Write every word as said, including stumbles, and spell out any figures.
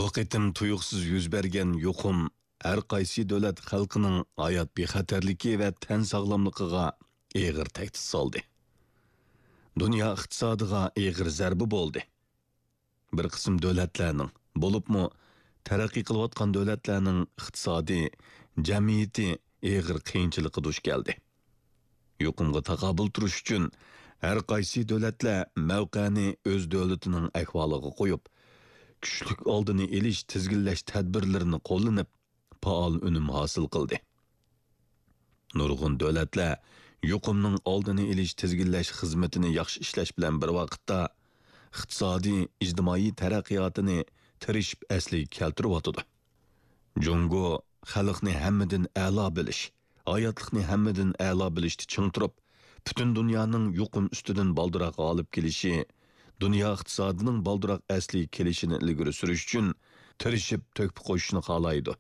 بۇ قېتىم تۇيۇقسىز يۈز بەرگەن يۇقۇم ھەر قايسى دۆلەت خەلقىنىڭ ھايات بىخەتەرلىكى ۋە تەن ساغلاملىقىغا ئېغىر تەھدىت سالدى. دۇنيا ئىقتىسادىغا ئېغىر زەربە بولدى. بىر قىسىم دۆلەتلەرنىڭ، بولۇپمۇ تەرەققىي قىلىۋاتقان دۆلەتلەرنىڭ ئىقتىسادى، جەمئىيىتى ئېغىر قىيىنچىلىققا دۇچ كەلدى. يۇقۇمغا تاقابىل تۇرۇش ئۈچۈن ھەر قايسى دۆلەتلەر مەۋقەنى ئۆز دۆلىتىنىڭ ئەھۋالىغا قويۇپ، كۈچلۈك ئالدىنى ئېلىش، تىزگىنلەش تەدبىرلىرىنى قوللىنىپ، پائال ئۈنۈم ھاسىل قىلدى. نۇرغۇن دۆلەتلەر يۇقۇمنىڭ ئالدىنى ئېلىش، تىزگىنلەش خىزمىتىنى ياخشى ئىشلەش بىلەن بىر ۋاقىتتا، ئىقتىسادىي، ئىجتىمائىي تەرەققىياتىنى تىرىشىپ ئەسلىگە كەلتۈرۈۋاتىدۇ. جۇڭگو خەلقنى ھەممىدىن ئەلا بىلىش، ھاياتلىقنى ھەممىدىن ئەلا بىلىشتە چىڭ تۇرۇپ، پۈتۈن دۇنيانىڭ يۇقۇم ئۈستىدىن بالدۇرراق غالىب كېلىشى، دۇنيا ئىقتىسادىنىڭ بالدۇرراق ئەسلىگە كېلىشىنى ئىلگىرى سۈرۈش ئۈچۈن تىرىشىپ تۆھپە قوشۇشنى خالايدۇ.